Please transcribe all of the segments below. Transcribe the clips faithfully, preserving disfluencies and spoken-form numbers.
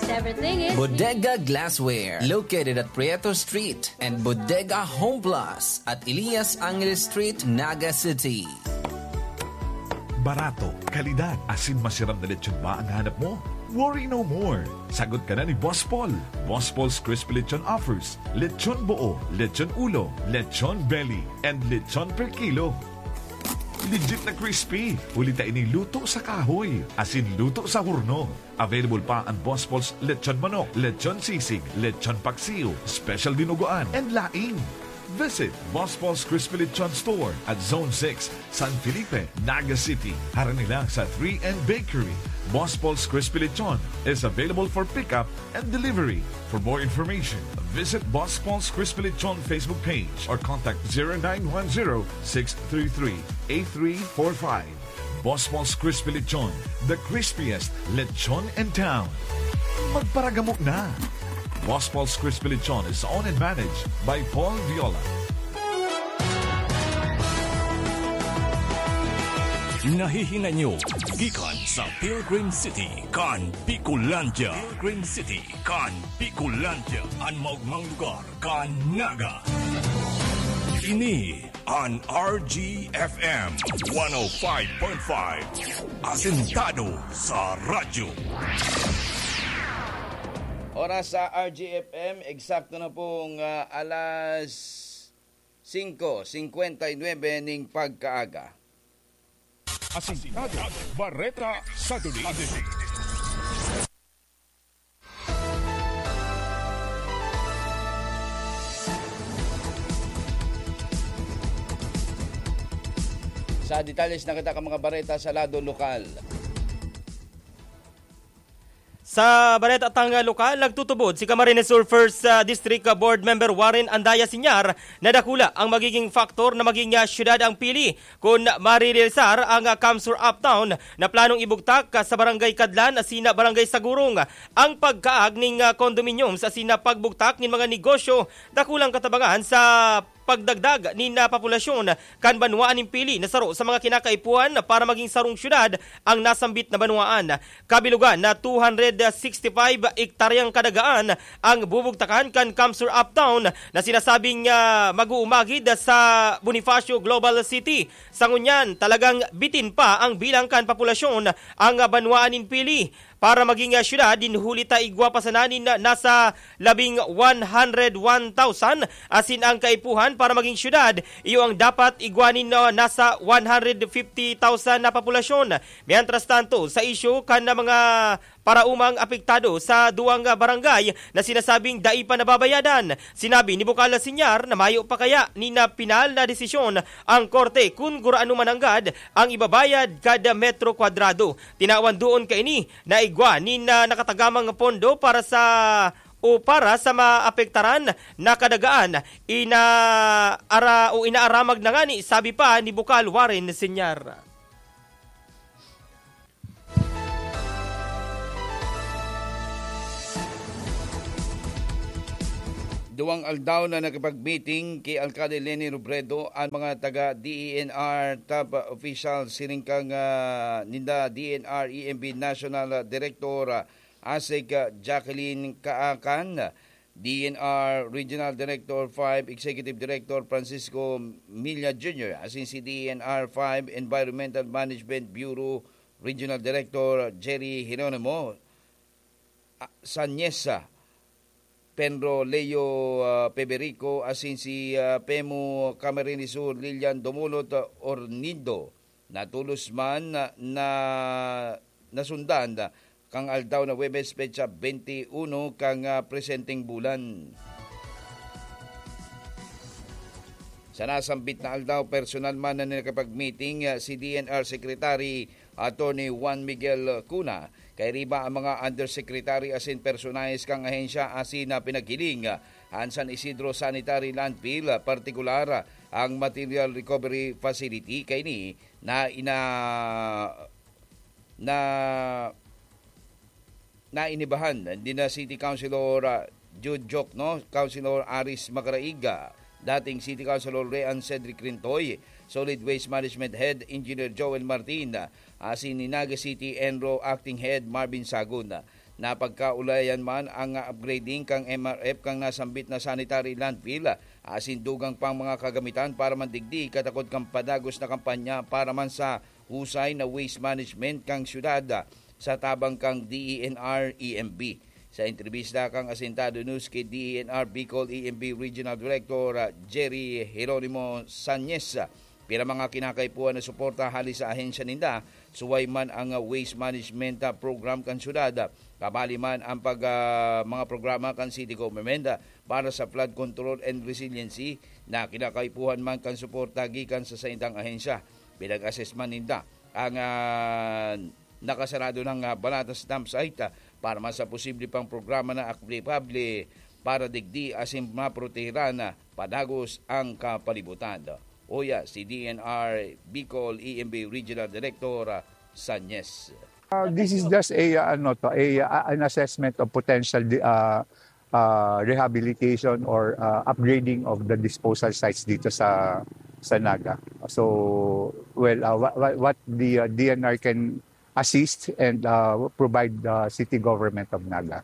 Everything is Bodega Glassware, located at Prieto Street and Bodega Home Plus at Elias Angeles Street, Naga City. Barato, kalidad, asin masiram na lechon ba ang hanap mo? Worry no more! Sagot ka na ni Boss Paul. Boss Paul's Crispy Lechon offers lechon buo, lechon ulo, lechon belly, and lechon per kilo. Legit na crispy, huli ta ini luto sa kahoy, asin luto sa horno. Available pa ang Boss Paul's Lechon Manok, Lechon Sisig, Lechon Paksiw, Special Dinuguan, and laing. Visit Boss Paul's Crispy Lechon Store at Zone six, San Felipe, Naga City. Harani lang sa three N Bakery. Boss Paul's Crispy Lechon is available for pickup and delivery. For more information, visit Boss Paul's Crispy Lechon Facebook page or contact zero nine one zero, six three three, eight three four five. Boss Paul's Crispy Lechon, the crispiest lechon in town. Magparagamo na! Boss Paul's Crispy Lechon is owned and managed by Paul Viola. Nahihinay nyo gikan sa Pilgrim City kan Bicolandia. Pilgrim City kan Bicolandia, an maogmang lugar kan Naga. Ini an R G F M one oh five point five, asentado sa radyo. Oras sa R G F M, eksakto na pong, ah, alas singko singkwenta y nuebe ning pagkaaga. Asintado, Bareta sa Duli. Sa detalles na kita kan mga bareta sa lado lokal. Sa bareta tang lokal, nagtutubod si Camarines Sur First, ah, District, ah, Board Member Warren Andaya Sinyar na dakula ang magiging faktor na maging, ah, syudad ang pili kun marerealisar ang, ah, CamSur Uptown na planong ibugtak, ah, sa Barangay Kadlan asin Barangay Sagurong. Ang pagkaag ning, ah, condominiums asin pagbugtak nin mga negosyo dakulang katabangan sa pagdagdag nin, ah, populasyon kan banwaan nin pili na saro sa mga kinakaipuhan para maging sarong syudad ang nasambit na banwaan. Kabilugan na two hundred sixty-five ektaryang kadagaan ang bubugtakan kan CamSur Uptown na sinasabing, ah, mag-uumagid sa Bonifacio Global City. Sa ngunyan, talagang bitin pa ang bilang kan populasyon ang, ah, banwaan nin pili para maging, ah, syudad. Nin huli ta igwa pa sana nin, ah, nasa labing one hundred one thousand, asin ang kaipuhan para maging syudad, iyo ang dapat igwa nin, ah, nasa one hundred fifty thousand na populasyon. Mientras tanto, sa isyu kan mga paraumang apektado sa duwang barangay na sinasabing dai pa nababayadan, sinabi ni Bukal Sinyar na mayo pa kaya nin pinal na desisyon ang korte kun gurano mananggad ang ibabayad kada metro kwadrado. Tinawan duon kaini na igwa nin, ah, nakatagamang pondo para sa o para sa maapektaran na kadagaan, ina-, ara-, o inaaramag na ngani, sabi pa ni Bukal Warren Sinyar. Duwang aldaw na nakipag-meeting ki Alcalde Leni Robredo an mga taga D E N R top official, siring kan, ah, ninda D E N R E M B National Director, ah, Asek, ah, Jacqueline Kaakan, D E N R Regional Director five, Executive Director Francisco Milla Junior, asin si D E N R five Environmental Management Bureau Regional Director Jerry Geronimo, ah, Sanyesa, Penro Leo, ah, Peberico, asin si, ah, Pemu Camarines Sur Lilian Domulot, ah, Ornido. Natolos man na, na nasundan kan aldaw na Huwebes, petsa twenty-one kan, ah, presenteng bulan. Sa nasambit na aldaw, personal man na nakipag-meeting, ah, si D N R Secretary Attorney Juan Miguel Cuna. Kairiba ang mga undersecretary asin personahes kan ahensya asin na pinaghiling, ah, an San Isidro Sanitary Landfill, ah, partikular, ah, ang Material Recovery Facility. Kaini na ina-, na nainibahan ni na City Councilor, ah, Jude Jokno, Councilor Aris Macaraiga, dating City Councilor Rean Cedric Rintoy, Solid Waste Management Head Engineer Joel Martin, asin ni Naga City ENRO Acting Head Marvin Sagon. Napagkaulayan man ang upgrading kan M R F kan nasambit na sanitary landfill asin dugang pang mga kagamitan para man digdi katakod kan padagos na kampanya para man sa husay na waste management kan syudad sa tabang kan D E N R E M B. Sa entrebista kan Asintado News ki D E N R Bicol E M B Regional Director, ah, Jerry Jeronimo Sanyes, ah, pira mga kinakaipuhan na suporta hali sa ahensya ninda, suway man ang, ah, waste management, ah, program kan syudad, ah, kabali man ang pag, ah, mga programa kan city government, ah, para sa flood control and resiliency na kinakaipuhan man kan suporta gikan sa saindang ahensya. Pinag-assess man ninda ang, ah, nakasarado ng, ah, Banatas dump site, ah, para man sa posible pang programa na aplikable para digdi asin maprotehiran na padagos ang kapalibutan. Uya si D N R Bicol E M B Regional Director, ah, Sanyes. Uh, this is just a, uh, ano to, a, uh, an assessment of potential di- uh, uh, rehabilitation or uh, upgrading of the disposal sites dito sa sa Naga. So, well, uh, what, what the uh, D N R can assist and uh, provide the city government of Naga.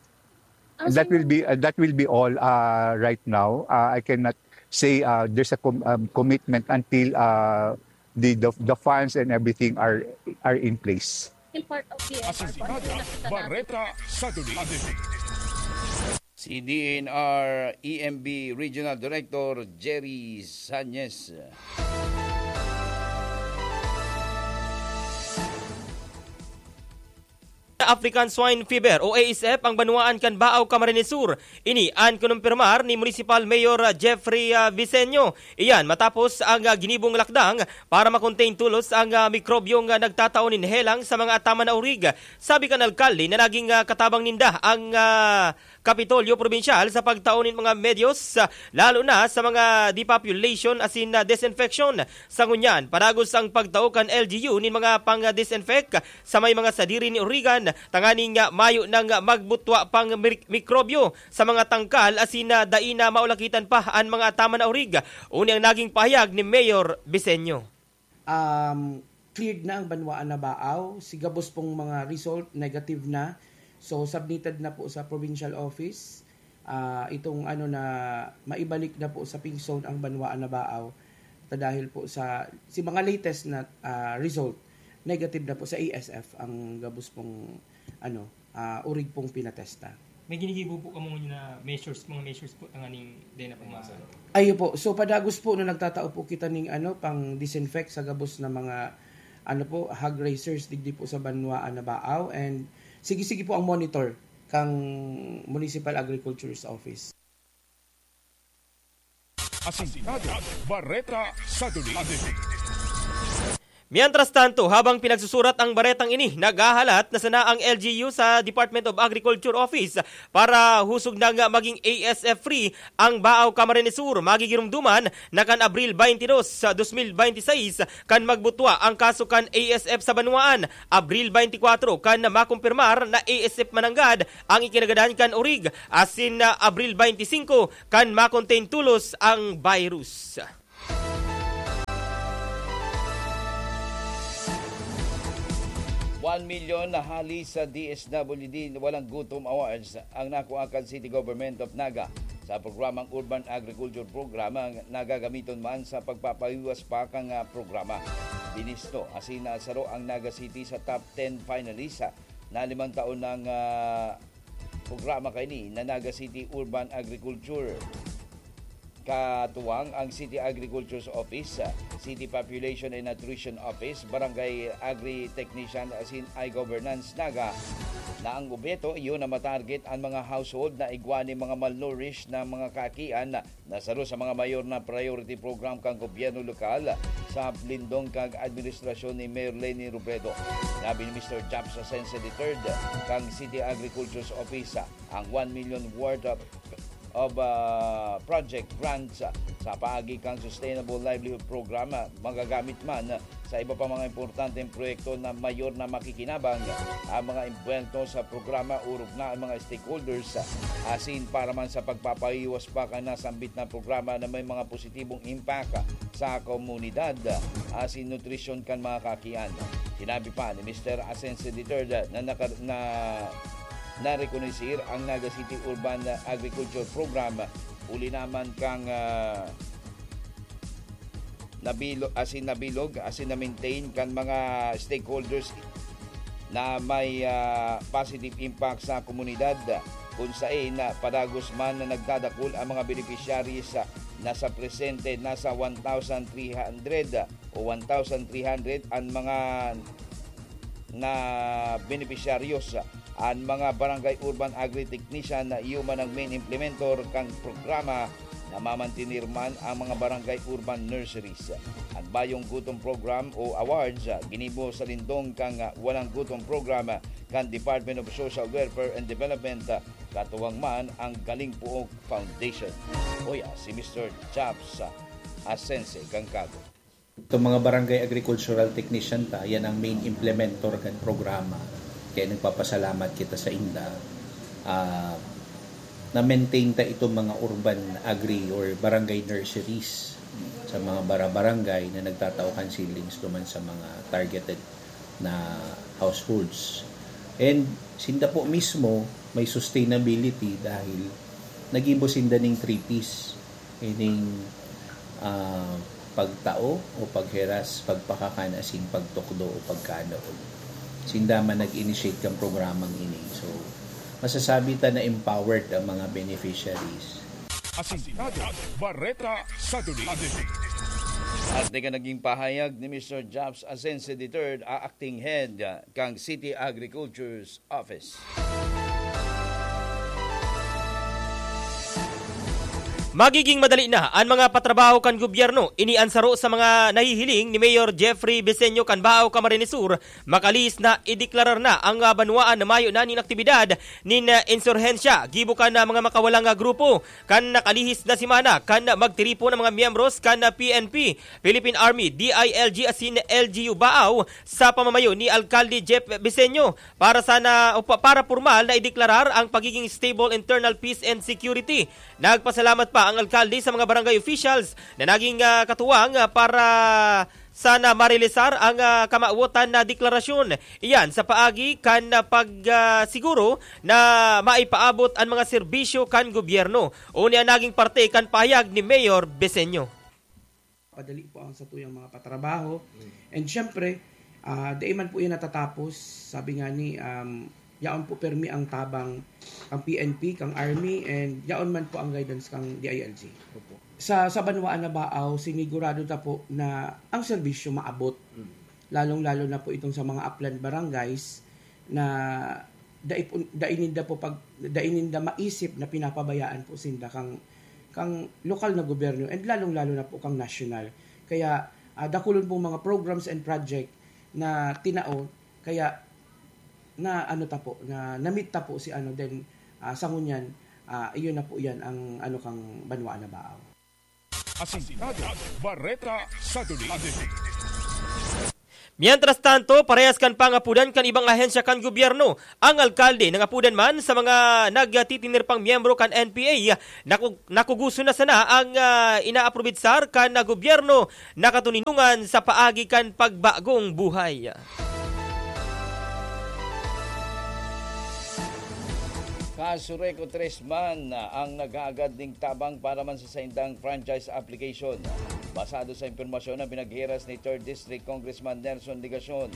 And that will be uh, that will be all uh, right now. Uh, I cannot say uh, there's a com- um, commitment until uh, the, the the funds and everything are are in place. Yung part of the Asintado, Bareta, Saturday. Si D N R E M B Regional Director Jerry Sanyes. African Swine Fever o A S F ang banwaan kan Baao, Camarines Sur. Ini an kinumpirmar ni Municipal Mayor Jeffrey, ah, Vicenio. Iyan matapos ang, ah, ginibong lakdang para makontain tolos ang, ah, mikrobyong, ah, nagtatao nin helang sa mga ataman na urig. Sabi kan alkalde na naging, ah, katabang ninda ang, ah, Kapitolyo Probinsyal sa pagtao nin mga medyos, ah, lalo na sa mga depopulation asin, ah, disinfection. Sa ngunyan, padagos ang pagtao kan L G U nin mga pang-disinfect sa may mga sadiri ni urigan, tanganing, ah, mayo nang magbutwa pang mir- mikrobyo sa mga tangkal asin, ah, dai na maulakitan pa an mga ataman na urig. Uni ang naging pahayag ni Mayor Bisenyo. Um, cleared na ang banwaan na Baaw. Si gabos pong mga result, negative na. So, submitted na po sa provincial office. Ah, itong ano na maibalik na po sa pink zone ang banwaan na Baaw. Ta dahil po sa si mga latest na ah, result, negative na po sa A S F ang gabos pong ano, ah, urig pong pinatesta. May ginigibo po kamo ngunyan na measures, mga measures po tanganing dai na po maano. Ayo po. So padagos po na nagtatao po kita ning ano, pang disinfect sa gabos na mga ano po, hog raisers digdi po sa banwaan na Baaw, and sige-sige po ang monitor kang Municipal Agriculture's Office. Asintado, Bareta, Saturday. Mientras tanto, habang pinagsusurat ang baretang ini, naghahalat na sana ang L G U sa Department of Agriculture Office para husog nang maging A S F free ang Baaw, Camarines Sur. Magigirumduman na kan Abril twenty-two sa twenty twenty-six kan magbutwa ang kaso kan A S F sa banwaan. Abril twenty-four kan makumpirmar na A S F mananggad ang ikinagadan kan urig, asin na Abril twenty-five kan makontain tolos ang virus. One million na hali sa D S W D Walang Gutom Awards ang nakuha kan City Government of Naga sa programang Urban Agriculture Program na gagamiton man sa pagpapahiwas pa kan, ah, programa. Binisto asin nasaro ang Naga City sa top ten finalists, ah, na limang taon nang, ah, programa kaini na Naga City Urban Agriculture. Katuwang ang City Agriculture's Office, City Population and Nutrition Office, Barangay Agri-Technician asin iGovernance Naga, na ang obheto iyo na matarget ang mga household na igwa nin mga malnourished na mga kaakian na saro sa mga mayor na priority program kan gobyerno lokal sa lindong kag administrasyon ni Mayor Leni Robredo. Sinabi ni Mister Japs Asense the third kan City Agriculture's Office, ang one million worth of of, ah, project grants, ah, sa paagi kan Sustainable Livelihood Program, ah, magagamit man, ah, sa iba pa mga importanteng proyekto na mayor na makikinabang, ah, ang mga imbuwelto sa programa, orog na ang mga stakeholders, ah, asin para man sa pagpapaiwas pa kan nasambit na programa na may mga positibong impact, ah, sa komunidad, ah, asin nutrisyon kan mga kaakian. Sinabi pa ni Mister Asense the third, ah, na naka-, na narekonoser ang Naga City Urban Agriculture Program, huli naman kan, ah, nabilo-, asin nabilog, asin na-maintain kan mga stakeholders na may, ah, positive impact sa komunidad, kun saen na padagos man na nagdadakul ang mga beneficiaries, ah, na sa presente nasa one thousand three hundred o one thousand three hundred an mga na benepisyaryo. An mga barangay urban agri-technician na iyo man ang main implementor kan programa, namamantener man ang mga barangay urban nurseries. An Bayong Gutom Program o awards, ah, ginibo sa lindong kan, ah, Walang Gutom Program, ah, kan Department of Social Welfare and Development, ah, katuwang man ang Galing Puog Foundation. Oya, si Mister Chaps, ah, Asense kan Kago. Itong mga barangay agricultural technician ta, yan ang main implementor kan programa. Kaya nagpapasalamat kita sa inda. Ah, na-maintain ta itong mga urban agri or barangay nurseries sa mga bara-barangay na nagtatao kan seedlings duman sa mga targeted na households. And sinda po mismo may sustainability dahil nagibo sinda ning three Ps. Ining, ah, pagtao o pagheras, pagpakakan asin pagtukdo o pagkanaon. Sinda man nag-initiate kan programang ini. So, masasabi ta na empowered ang mga beneficiaries. Asintado, Bareta sa Duli. At ika naging pahayag ni Mister Jobs Asense the third, a acting head, ah, kang City Agriculture's Office. Magiging madali na an mga patrabaho kan gobyerno. Ini an saro sa mga nahihiling ni Mayor Jeffrey Beseño kan Baao, Camarines Sur. Makalihis na ideklarar na ang, ah, banwaan na mayo na nin aktibidad nin, ah, insurhensya gibo kan, ah, mga makawalang, ah, grupo. Kan nakalihis na semana, kan magtiripon ang mga miyembros kan, ah, P N P, Philippine Army, D I L G asin L G U Baao sa pamamayo ni Alkalde Jeff Beseño para sana o pa-, para pormal na ideklarar ang pagiging stable internal peace and security. Nagpasalamat pa ang alkalde sa mga barangay officials na naging, ah, katuwang, ah, para sana marealisar ang, ah, kamawotan na deklarasyon. Iyan sa paagi kan, ah, pag, ah, siguro na maipaabot an mga serbisyo kan gobyerno. Uni an naging parte kan pahayag ni Mayor Beseño. Padali po ang satuyang mga patrabaho. And syempre, ah, dai man po yan natatapos. Sabi nga ni, um, yaon po permi ang tabang kang P N P, kang Army, and yaon man po ang guidance kang D I L G. Opo. Sa, sa banwaan na Baao, sinigurado ta po na ang serbisyo maabot. Mm. Lalong-lalo na po itong sa mga upland barangays na dai po, dai ninda po pag, dai ninda maisip na pinapabayaan po sinda kang, kang lokal na gobyerno and lalong-lalo na po kang national. Kaya, ah, dakulon pong mga programs and project na tinao, kaya na ano ta po, na namit ta po si ano, then, ah, sa ngunyan, ah, iyon na po yan ang ano kang banwaan na Baao. Asintado, Bareta sa Duli. Mientras tanto, parehas kan pangapudan kan ibang ahensya kan gobyerno, ang alkalde nangapudan man sa mga nagtitiner pang miyembro kan N P A, naku-, nakuguso na sana ang, ah, inaaprobitsar kan gobyerno na katoninongan sa paagi kan pagbagong buhay. Kasureco tres man ang nag-aagad ning tabang para man sa saindang franchise application. Basado sa impormasyon na pinaghiras ni Third District Congressman Nelson Legacion,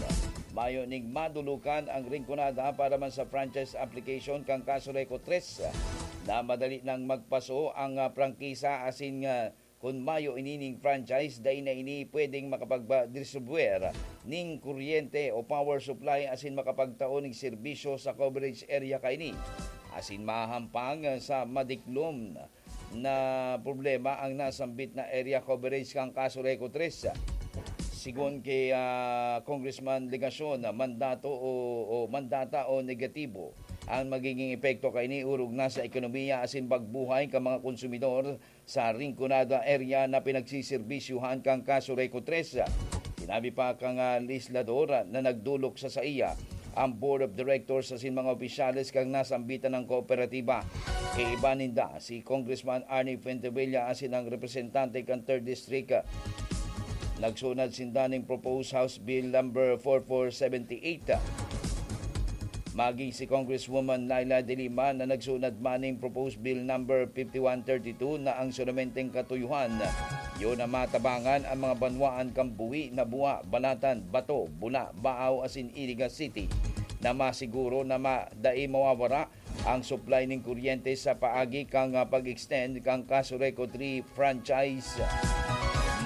mayo ning madulukan ang Rinconada para man sa franchise application kan Kasureco tres na madali nang magpaso ang, ah, prangkisa asin nga kun mayo inining franchise, dai na ini pwedeng makapagdistribuer ning kuryente o power supply asin makapagtao ning serbisyo sa coverage area kaini. Asin mahahampang sa madiklom na problema ang nasambit na area coverage kan Kasureco tres. Sigon ki, ah, Congressman Legacion, mandato o, o mandata o negatibo ang magiging epekto kaini orog na sa ekonomiya asin pagbuhay kan mga konsumidor sa Rinconada area na pinagsiserbisyuhan kan Kasureco tres. Sinabi pa kan, ah, legislador na nagdolok sa saiya ang Board of Directors asin mga opisyales kan nasambitan na kooperatiba. Kaiba ninda si Congressman Arnie Fuentebella asin ang representante kan Third District. Nagsunad sinda ning Proposed House Bill number four four seventy eight. Maging si Congresswoman Leila de Lima na nagsunad man ning Proposed Bill Number fifty-one thirty-two na ang sulamenteng katuyohan, yun na matabangan ang mga banwaan kan Buhi, Nabua, Balatan, Bato, Bula, Baaw asin Iliga City, na masiguro na ma-, dai mawawara ang supply ning kuryente sa paagi kan, ah, pag-extend kan Casureco three franchise.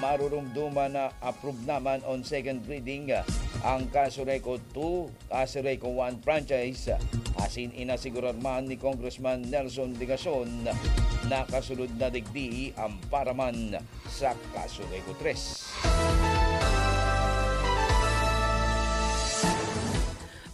Marurumduman na approve naman on second reading, ah, ang Casureco two, Casureco one franchise, asin inasigurar man ni Congressman Nelson Legacion na kasunod na digdi ang paraman sa Casureco tres.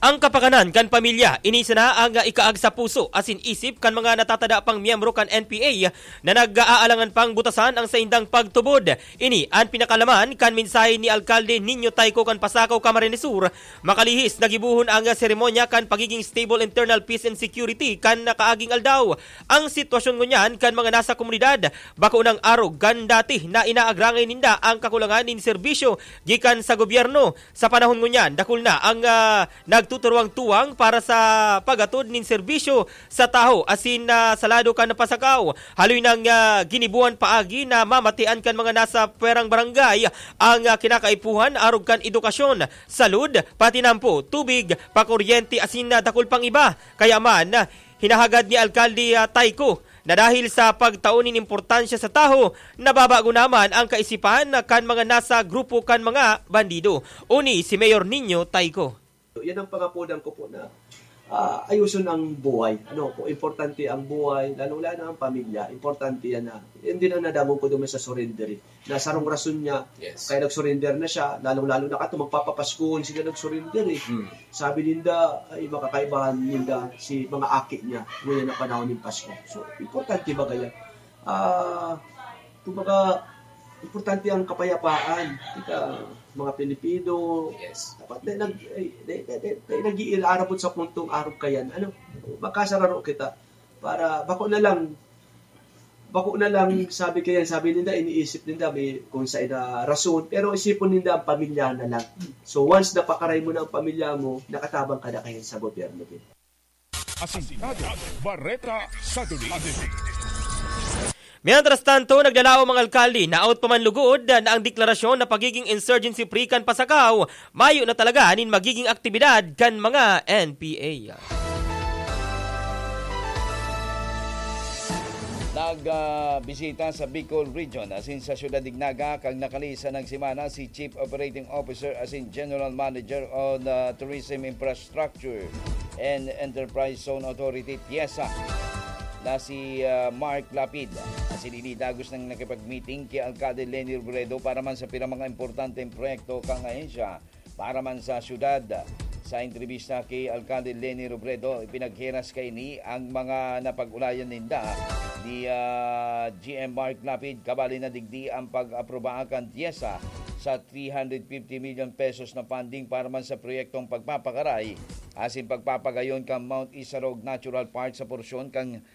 Ang kapakanan kan pamilya, ini sana ang ikaag sa puso asin isip kan mga natatada pang miyembro kan N P A na nag-aalangan pang butasan ang saindang pagtubod. Ini an pinakalaman kan mensahe ni Alkalde Nino Tayco kan Pasacao, Camarines Sur. Makalihis na gibohon ang seremonya kan pagiging stable internal peace and security kan nakaaging aldaw. Ang sitwasyon ngunyan kan mga nasa komunidad bako nang arog kan dati na inaagrangay ninda ang kakulangan nin serbisyo gikan sa gobyerno. Sa panahon ngunyan, dakul na ang, ah, nagtuturuwang tuwang para sa pag-atod nin serbisyo sa tawo asin, ah, sa lado kan Pasacao. Haloy nang, ah, ginibohan paagi na mamatian kan mga nasa pwerang barangay ang, ah, kinakaipuhan arog kan edukasyon, salud, patinampo, tubig, pakuryente asin, ah, dakul pang iba. Kaya man, ah, hinahagad ni Alkalde, ah, Tayco na dahil sa pagtao nin importansya sa tawo, nababago naman ang kaisipan kan mga nasa grupo kan mga bandido. Uni si Mayor Nino Tayco. Yan ang pangapunan ko po na, ah, ayuson ang buhay. Ano po, importante ang buhay, lalong-lalo na ang pamilya. Importante yan na, yan din ang nadangog ko doon sa surrender eh. Na sarong rason niya, Yes. kaya nag-surrender na siya, lalong-lalo na kato, magpapapasko, hindi sila nag-surrender eh. Hmm. Sabi ninda, ay, makakaibahan ninda si mga aki niya, ngunyan na panahon ng Pasko. So, importante ba kaya? Ah, kumbaga, importante ang kapayapaan. Kita, mga Pilipino, Yes. dapat na nag-, ay, na, na, na, na, nag-iilarabot sa puntong arog kayan. Ano, magkasararo kita para bako na lang, bako na lang, sabi kayan, sabi ninda, iniisip ninda may kung sa ina rason, pero isipon ninda ang pamilya na lang. So, once napakaray mo na ang pamilya mo, nakatabang ka na kayan sa gobyerno din. Asintado, Bareta sa Duli. Mientras tanto, naglalaom ang alkalde na out pa man lugod na ang deklarasyon na pagiging insurgency free kan Pasacao, mayo na talaga nin magiging aktibidad kan mga N P A. Nag, ah, bisita sa Bicol Region asin sa Siyudad Dignaga kan nakalihis na semana si Chief Operating Officer asin General Manager on, ah, Tourism Infrastructure and Enterprise Zone Authority, TIEZA, na si, ah, Mark Lapid. Asin ini dagos nang nakipag-meeting ki Alkalde Leni Robredo para man sa pira mga importanteng proyekto kan ahensya para man sa syudad. Sa entrebista ki Alkalde Leni Robredo, ipinagheras kaini ang mga napag-ulayan ninda ni, ah, G M Mark Lapid, kabali na digdi ang pag-aproba kan TIEZA sa three hundred fifty million pesos na funding para man sa proyektong pagpapakaray asin pagpapagayon kan Mount Isarog Natural Park sa porsyon kan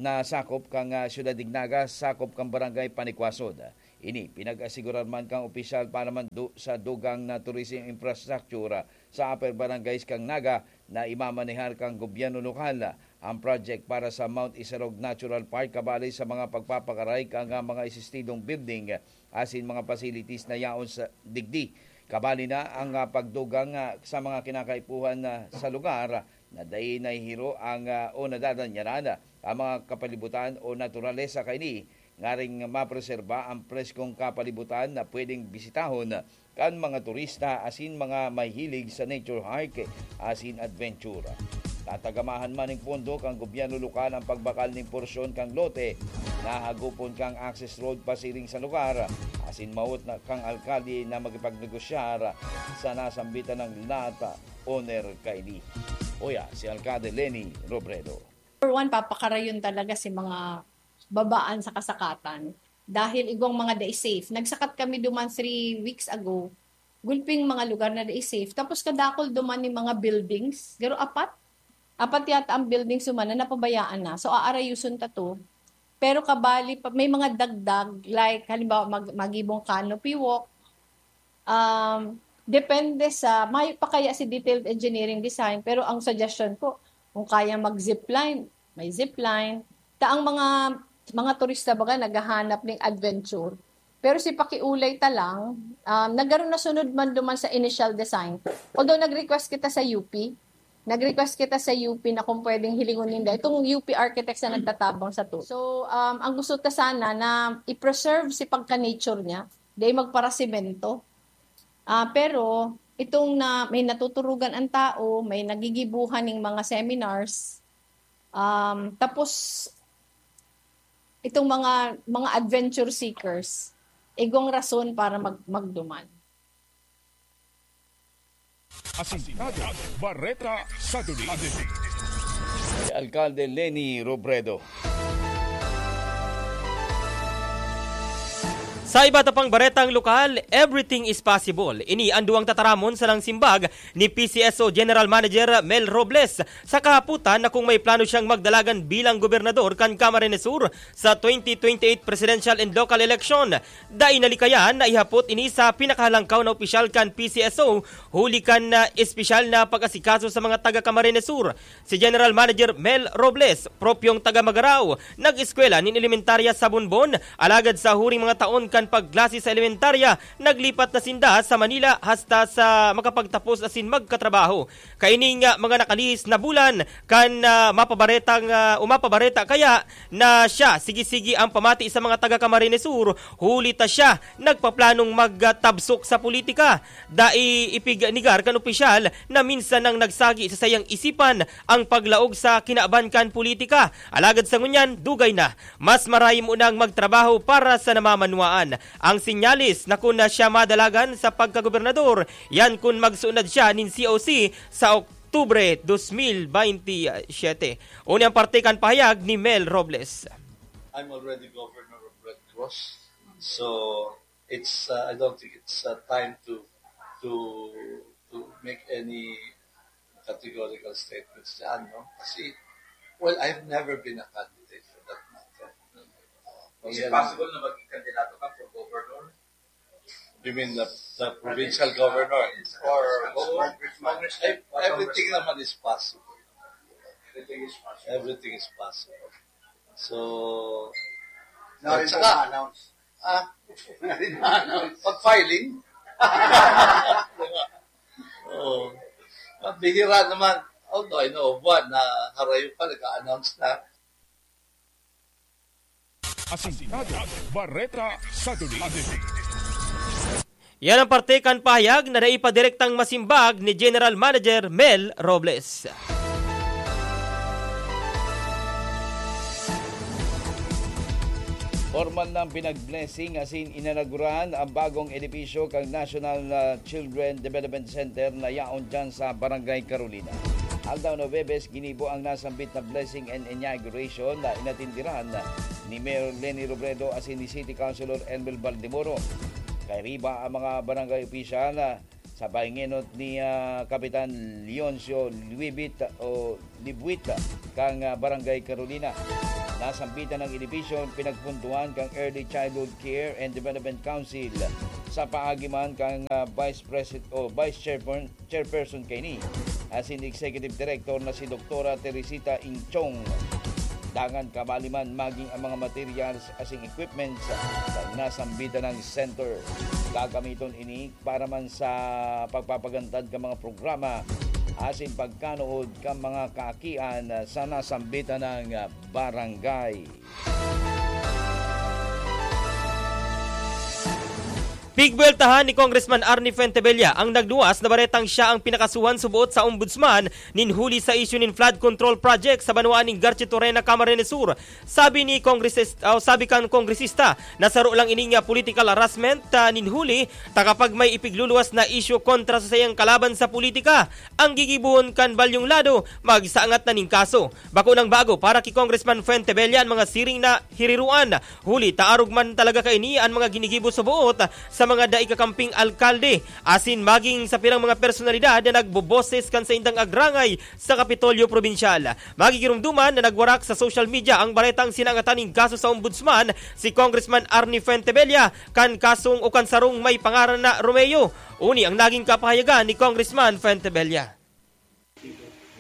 nasakop kan, ah, Siyudad Dignaga, sakop kan Barangay Panicuasod. Ini pinag-asigurar man kan opisyal para man du-, sa dugang na tourism infrastructure sa upper barangays kan Naga na imamanehar kan gobyerno lokal. Ang project para sa Mount Isarog Natural Park kabali sa mga pagpapakaray kan, ah, mga esistidong building asin mga facilities na yaon sa digdi. Kabali na ang, ah, pagdugang, ah, sa mga kinakaipuhan, ah, sa lugar na dai nahihiro ang, ah, o nadadanyaran ang mga kapalibutan o naturalesa kaini, ngaring mapreserba ang preskong kapalibutan na pwedeng bisitahon kan mga turista asin mga mahilig sa nature hike asin adventure. Tatagamahan man ning pondo kan gobyerno lokal ang pagbakal ning porsyon kan lote na hagupon kan access road pasiring sa lugar, asin mawot na kan alkalde na makipagnegosyar sa nasambitan na lot owner kaini. Uya, si Alkalde Leni Robredo. Number one, papakarayon talaga si mga babaan sa kasakatan. Dahil igwang mga dai safe. Nagsakat kami duman three weeks ago. Gulping mga lugar na dai safe. Tapos kadakol duman ni mga buildings. Garo apat? Apat yata ang buildings duman na napabayaan na. So, aarayuson ta to. Pero kabali, pa, may mga dagdag, like, halimbawa, mag, magibong canopy walk, um, Depende sa, mayo pa kaya si detailed engineering design, pero ang suggestion ko, kung kaya mag-zipline, may zipline. Ta ang mga, mga turista baga naghahanap ning adventure. Pero si pakiulay ta lang, um, nagkaroon na sunod man duman sa initial design. Although nag-request kita sa U P, nag-request kita sa U P na kung pwedeng hilingon ninda. Itong U P architects na nagtatabang sa to. So, um, ang gusto ta sana na i-preserve si pagka-nature niya, di magparasimento. Ah, pero itong na, may natuturugan ang tao, may nagigibuhan ng mga seminars, um, tapos itong mga, mga adventure seekers, igwang rason para mag-, magduman. Asintado, Bareta sa Dulig. Alcalde Leni Robredo. Sa iba ta pang baretang lokal, everything is possible. Ini ang duwang tataramon sa nang simbag ni P C S O General Manager Mel Robles sa kahaputan na kung may plano siyang magdalagan bilang gobernador kan Camarines Sur sa twenty twenty-eight presidential and local election. Dai nalikayan na ihapot ini sa pinakahalangkaw na opisyal kan P C S O huli kan ah, espesyal na pag-asikaso sa mga taga Camarines Sur. Si General Manager Mel Robles, propyong taga Magarao, nag-eskwela nin elementarya sa Bonbon, alagad sa huring mga taon kan pagklase sa elementarya, naglipat na sinda sa Manila hasta sa makapagtapos asin magkatrabaho. Kaining ah, mga nakalihis na bulan kan ah, mapabaretang ah, o mapabareta kaya na siya sige-sige ang pamati sa mga taga Camarines Sur, huli ta siya nagpaplanong magtabsok sa politika. Dai ipignegar kan opisyal na minsan nang nagsagi sa sayang isipan ang paglaog sa kinaban kan politika. Alagad sa ngunyan, dugay na, mas maraymo nang magtrabaho para sa namamanwaan. Ang sinyalis na kun na siya madalagan sa pagkagobernador, yan kun magsuunad siya nin C O C sa Oktubre dos mil baynte siyete. Uni ang parte kan pahayag ni Mel Robles. I'm already governor of Red Cross, so it's uh, I don't think it's uh, time to to to make any categorical statements dyan, no? Kasi, well, I've never been a candidate for that matter. Is it possible na maging kandidato ka for governor? You mean the, the provincial governor? Or congressman? Ev- Everything naman is possible. Everything is possible. Everything is possible. So, Now, at it's saka, na-announce. ah, Na-announce. Pag-filing. Oo. Mabihira naman. Although I know of one na harayo pa, nag-announce na. Asintado, Bareta sa Dulig. Yan ang parte kan pahayag na naipa direktang masimbag ni General Manager Mel Robles. Formal nang pinag-blessing asin inanaguran ang bagong edipisyo kan National ah, Children Development Center na yaon dyan sa Barangay Carolina. Aldaw na Huwebes, ginibo ang nasambit na blessing and inauguration na inatindiran ni Mayor Leni Robredo asin ni City Councilor Elmer Baldemoro. Kairiba ang mga barangay opisyal ah, sa pahingenot ni ah, Kapitan Leoncio Luibit o Libuit kang ah, Barangay Carolina. Nasambitan ng edifisyon pinagpuntuhan kang Early Childhood Care and Development Council sa paagi man kang ah, Vice President o Vice Chairperson, Chairperson kaini asin Executive Director na si Doktora Teresita Inchong. Dangan kabali man maging ang mga materials asin equipments sa nasambitan ng center. Gagamiton ini para man sa pagpapagantad kan mga programa asin pagkanuod kan mga kaakian sa nasambitan ng barangay. Pigbuweltahan ni Congressman Arnie Fuentebella ang nagluwas na baretang siya ang pinakasuhan suboot sa Ombudsman nin huli sa isyu nin flood control project sa banwaan nin Garchitorena, Camarines Sur. Sabi ni Kongresis-, oh, sabi kan kongresista na saro lang ini nga political harassment ah, nin huli ta kapag may ipigluluwas na isyu kontra sa sayang kalaban sa politika, ang gigibohon kan balyong lado magsaangat na nin kaso. Bako nang bago para ki Congressman Fuentebella an mga siring na hiriruan, huli ta arog man talaga kaini an mga ginigibo sa buot sa sa mga dai kakamping alkalde asin maging sa pirang mga personalidad na nagboboses kan saindang agrangay sa Kapitolyo Probinsyal. Magigirumduman na nagwarak sa social media ang baretang sinangatan nin kaso sa Ombudsman, si Congressman Arnie Fuentebella, kan kasong o kan sarong may pangaran na Romeo. Uni ang naging kapahayagan ni Congressman Fuentebella.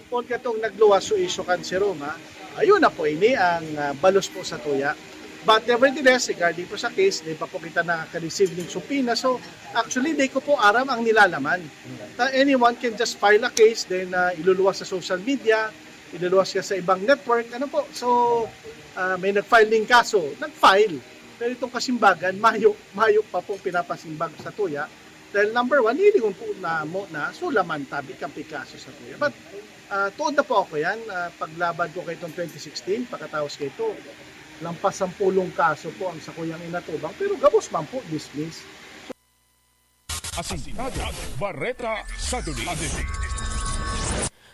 Kun katong nagluwas so isyu kan si Roma, ayun na po ini ang, ah, balos po sa tuya. But nevertheless, regarding po sa case, di pa po kita nakaka-receive ng subpoena. So, actually, di ko po aram ang nilalaman. Ta anyone can just file a case, then, ah, iluluwas sa social media, iluluwas ka sa ibang network, ano po. So, ah, may nag-file ng kaso, nag-file. Pero itong kasimbagan, mayo, mayo pa pong pinapasimbag sa tuya. Dahil number one, hilingon po na mo na sulaman tabi kan pikaso sa tuya. But, ah, tuod na po ako yan. Ah, paglaban ko kay itong twenty sixteen, pagkatapos kay ito, lampas sampulong kaso po ang sakuyang inatubang, pero gabos man po, dismiss. Asintado, Bareta sa Duli.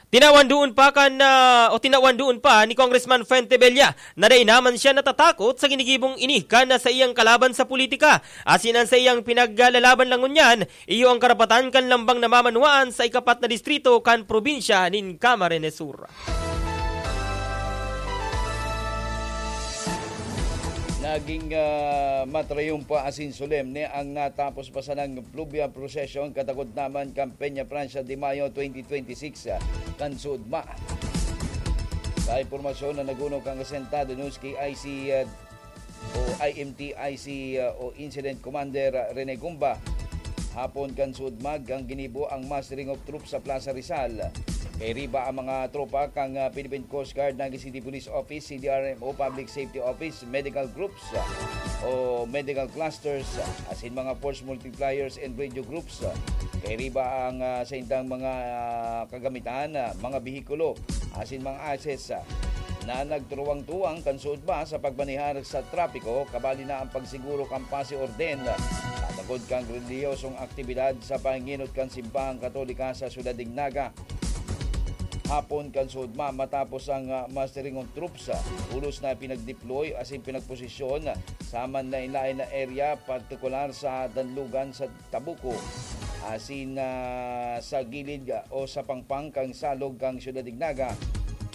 Tinawan doon pa kan, ah, o tinawan doon pa ni Congressman Fuentebella na dai naman siya natatakot sa ginigibong ini kan sa iyang kalaban sa politika. Asin an sa iyang pinaglalaban lang ngunyan, iyo ang karapatan kan lambang namamanwaan sa ikapat na distrito kan probinsya nin Camarines Sur. Naging, ah, matrayumpa asin solemne ang natapos pa sanang fluvial procession katakod naman kan Peña Francia de Mayo twenty twenty-six, ah, kan Sudma. Sa impormasyon na nag-uno kan Asentado News, K I C, ah, o I M T I C, ah, o Incident Commander, ah, Rene Gumba, hapon kan Sudmag ang ginibo ang mustering of troops sa Plaza Rizal. Kairiba ang mga tropa kan, ah, Philippine Coast Guard, Naga City Police Office, C D R M O, Public Safety Office, medical groups, ah, o medical clusters, ah, asin mga force multipliers and radio groups. Ah, kairiba ang, ah, saindang mga, ah, kagamitan, ah, mga behikulo, asin mga assets, ah, na nagturuwang-tuwang kan Sudma sa pagmanehar sa trapiko, kabali na ang pagsiguro kan pasi orden, ah, katakod kan relihiyosong aktibidad sa panginot kan Simbahang Katolika sa Syudad nin Naga. Hapon kan Sudma, matapos ang, ah, mustering of troops, ah, pulos na pinagdeploy asin pinagposisyon, ah, sa manlaen-laen na area, partikular sa Danlugan sa Tabuco, asin, ah, sa gilid, ah, o sa pangpang kan salog kan Syudad nin Naga.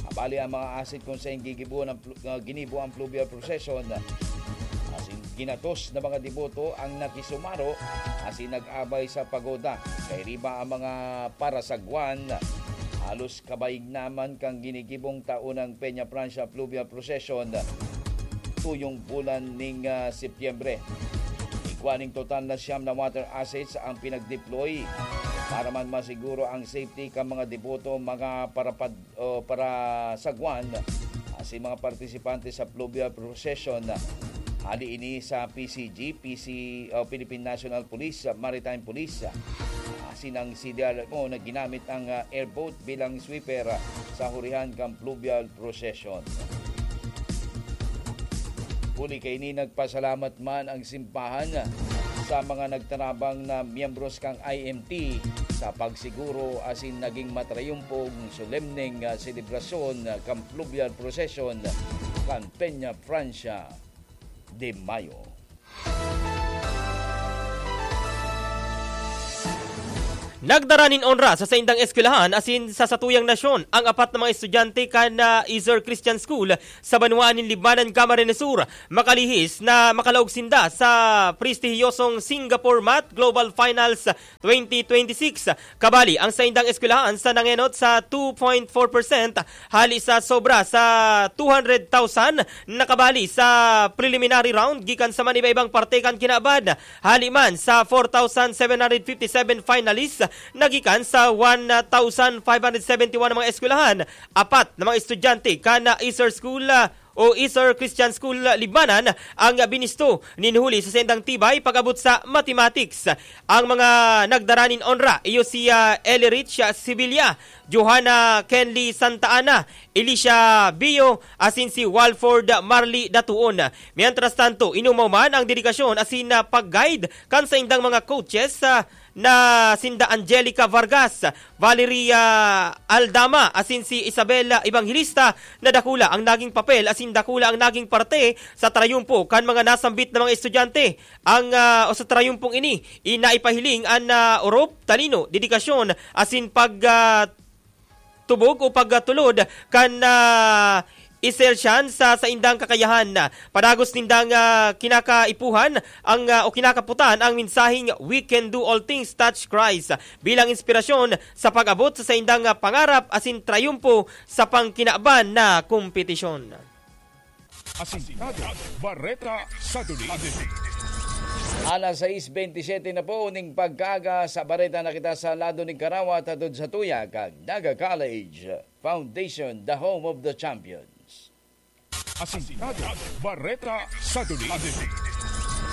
Abali ang mga asset kun saen gigibo ang plu-, ah, ginibo ang fluvial procession. Asin ginatos na mga deboto ang nakisumaro asin nag-abay sa pagoda. Kairiba ang mga parasagwan, halos kabaing naman kan ginigibong taonang Peña Francia Fluvial Procession tuyong bulan ning, ah, Setyembre. Igwa ning total na siyam na water assets ang pinag-deploy para man masiguro ang safety kan mga deboto, mga parapad-, o parasagwan, asin mga partisipante sa fluvial procession. Hali ini sa P C G, P C, o Philippine National Police, Maritime Police, asin ang C D R M O na ginamit ang, ah, airboat bilang sweeper, ah, sa hurihan kan fluvial procession. Huli kaini, nagpasalamat man ang simbahan sa mga nagtarabang na miyembros kan I M T sa pagsiguro asin naging matrayumpong solemneng, ah, selebrasyon, ah, kan fluvial procession kan Peña Francia de Mayo. Nagdara nin onra sa saindang eskwelahan asin sa satuyang nasyon ang apat na mga estudyante kan, ah, Iser Christian School sa banwaan nin Libmanan, Camarines Sur, makalihis na makalaog sinda sa prestihiyosong Singapore Math Global Finals twenty twenty-six. Kabali, ang saindang eskwelahan sa nangenot sa two point four percent hali sa sobra sa two hundred thousand nakabali sa preliminary round gikan sa maniba-ibang parte kan kinaban. Hali man sa four thousand seven hundred fifty-seven finalists na gikan sa one thousand five hundred seventy-one na mga eskwelahan, apat na mga estudyante kan Iser School, ah, o Iser Christian School Libmanan ang binisto nin huli sa saindang tibay pag-abot sa mathematics. Ang mga nagdara nin onra iyo si, ah, Eli Rich, ah, Sevilla, Johanna Kenly Santa Ana, Elisha Bio, asin si Walford Marley Datuon. Mientras tanto, inumaw man ang dedikasyon asin, ah, pag-guide kan saindang mga coaches, ah, na sinda Angelica Vargas, Valeria Aldama, asin si Isabel Evangelista, na dakula ang naging papel asin dakula ang naging parte sa trayumpo kan mga nasambit na mga estudyante. Ang, ah, o sa trayumpong ini, inaipahiling an, ah, orop, talino, dedikasyon, asin pag, ah, tubog o pagtulod kan, ah, Isersian sa saindang kakayahan. Padagos nindang, ah, kinakaipuhan ang, ah, o kinakaputan ang mensaheng "We can do all things touch Christ" bilang inspirasyon sa pag-abot sa saindang, ah, pangarap asin trayumpo sa pangkinaban na kompetisyon. Asintado, Bareta sa Duli. Alas sais bentisiete na po ning pagkaaga sa bareta na kita sa lado ning Karawa, hatod sa tuya kan Naga College Foundation, the home of the champions. Asintado, Bareta sa Duli.